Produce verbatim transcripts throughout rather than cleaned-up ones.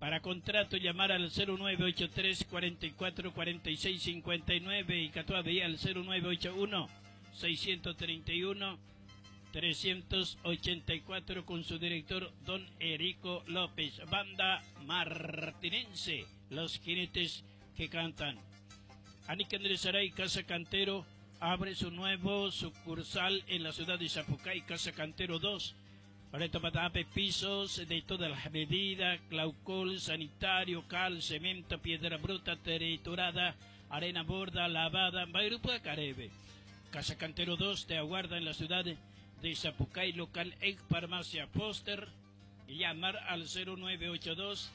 Para contrato llamar al cero nueve ocho tres cuarenta y cuatro cuarenta y seis cincuenta y nueve y Catuabe al cero nueve ocho uno seiscientos treinta y uno trescientos ochenta y cuatro con su director don Erico López. Banda Martinense, los jinetes que cantan. Anik Andrés Aray, Casa Cantero, abre su nuevo sucursal en la ciudad de Sapucay, Casa Cantero dos. Reto Patape, pisos de todas las medidas, claucol, sanitario, cal, cemento, piedra bruta, triturada, arena borda, lavada, Bayrupa, Caribe. Casa Cantero dos te aguarda en la ciudad de Sapucay, local ex farmacia Foster. Y llamar al cero nueve ocho dos,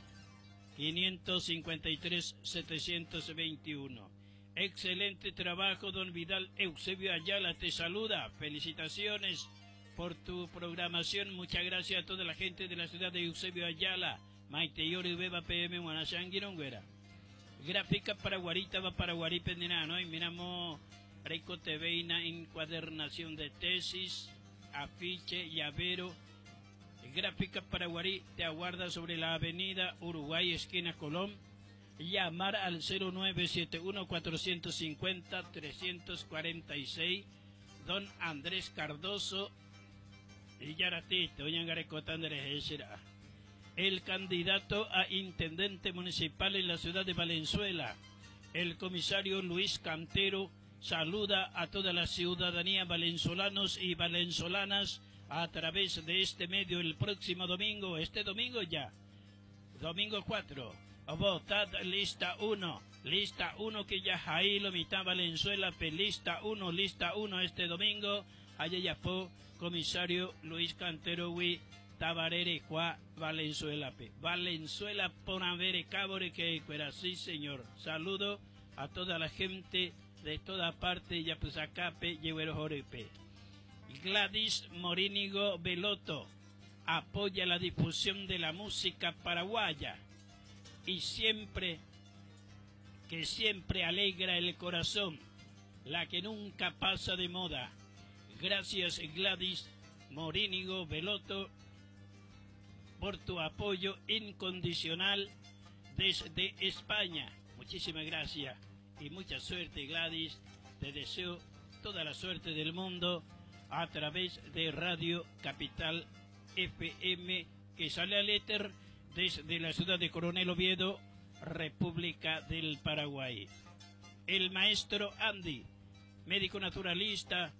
quinientos cincuenta y tres, setecientos veintiuno. Excelente trabajo, don Vidal Eusebio Ayala te saluda. Felicitaciones por tu programación. Muchas gracias a toda la gente de la ciudad de Eusebio Ayala. Maite Yori Beba P M Guanasanguironguera. Gráfica para Guarita va para Guaripendina, ¿no? Y miramos Reco T V encuadernación de tesis, afiche, llavero. Gráfica Paraguarí te aguarda sobre la avenida Uruguay, esquina Colón. Llamar al cero nueve siete uno cuatrocientos cincuenta trescientos cuarenta y seis. Don Andrés Cardoso y Yaratito, el candidato a intendente municipal en la ciudad de Valenzuela, el comisario Luis Cantero, saluda a toda la ciudadanía valenzuelanos y valenzolanas a través de este medio el próximo domingo, este domingo ya, domingo cuatro. Votad lista uno, lista uno que ya Jailo, mitad Valenzuela, pe lista uno, lista uno este domingo. Allá ya fue comisario Luis Cantero Wi Tabarere Juá Valenzuela pe. Valenzuela Ponavere Cabore que fuera, sí señor. Saludo a toda la gente de toda parte, ya pues acá pe lleguero jorepe. Gladys Morínigo Veloto apoya la difusión de la música paraguaya y siempre, que siempre alegra el corazón, la que nunca pasa de moda. Gracias Gladys Morínigo Veloto por tu apoyo incondicional desde España. Muchísimas gracias y mucha suerte Gladys. Te deseo toda la suerte del mundo a través de Radio Capital F M, que sale al éter desde la ciudad de Coronel Oviedo, República del Paraguay. El maestro Andy, médico naturalista,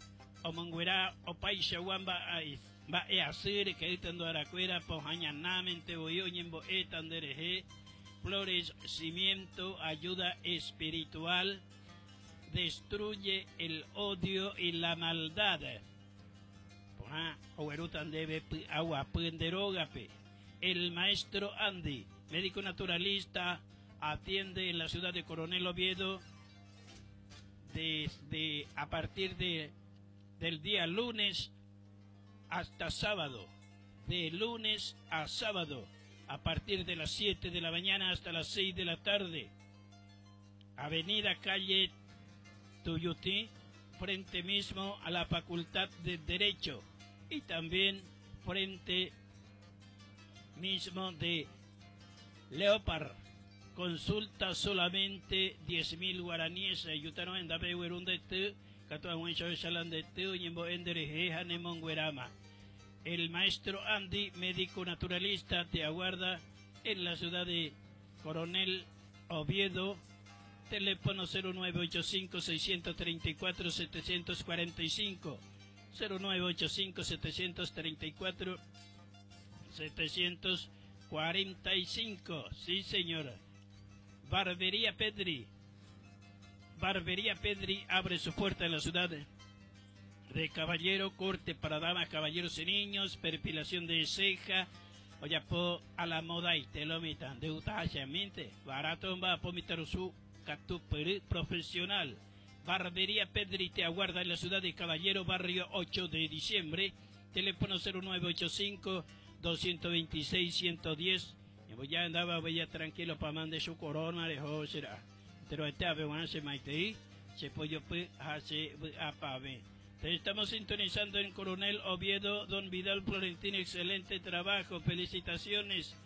omonguerá o paisa guamba ai, va e hacer que estando aracuera, pojañanamente boyoñembo etandereje, flores, cimiento, ayuda espiritual, destruye el odio y la maldad. Poja, oerutan debe pu, agua puenderógape. El maestro Andy, médico naturalista, atiende en la ciudad de Coronel Oviedo desde a partir de, del día lunes hasta sábado, de lunes a sábado, a partir de las siete de la mañana hasta las seis de la tarde. Avenida Calle Tuyutí, frente mismo a la Facultad de Derecho y también frente mismo de Leopard. Consulta solamente diez mil guaraníes. Ayútanos en Dabe Huerun de T, Catoa Huencho de Salán de T, Ñembo Endere Jeja Nemonguerama. El maestro Andy, médico naturalista, te aguarda en la ciudad de Coronel Oviedo. Teléfono cero nueve ocho cinco, seiscientos treinta y cuatro, setecientos cuarenta y cinco. cero nueve ocho cinco, setecientos treinta y cuatro, setecientos cuarenta y cinco. Sí, señora. Barbería Pedri. Barbería Pedri abre su puerta en la ciudad de Caballero. Corte para damas, caballeros y niños, perfilación de ceja. Oye, po a la moda y te lo mitan de utachamente. Barato va a pomitar su catuperi profesional. Barbería Pedri te aguarda en la ciudad de Caballero, barrio ocho de diciembre. Teléfono cero nueve ocho cinco, doscientos veintiséis, ciento diez. Y voy ya andaba, voy ya tranquilo pa' mande su corona, de será. Pero este ave, bueno, se maite, se pollo, pues, hace, a pa' ver. Te estamos sintonizando en Coronel Oviedo, don Vidal Florentino, excelente trabajo, felicitaciones.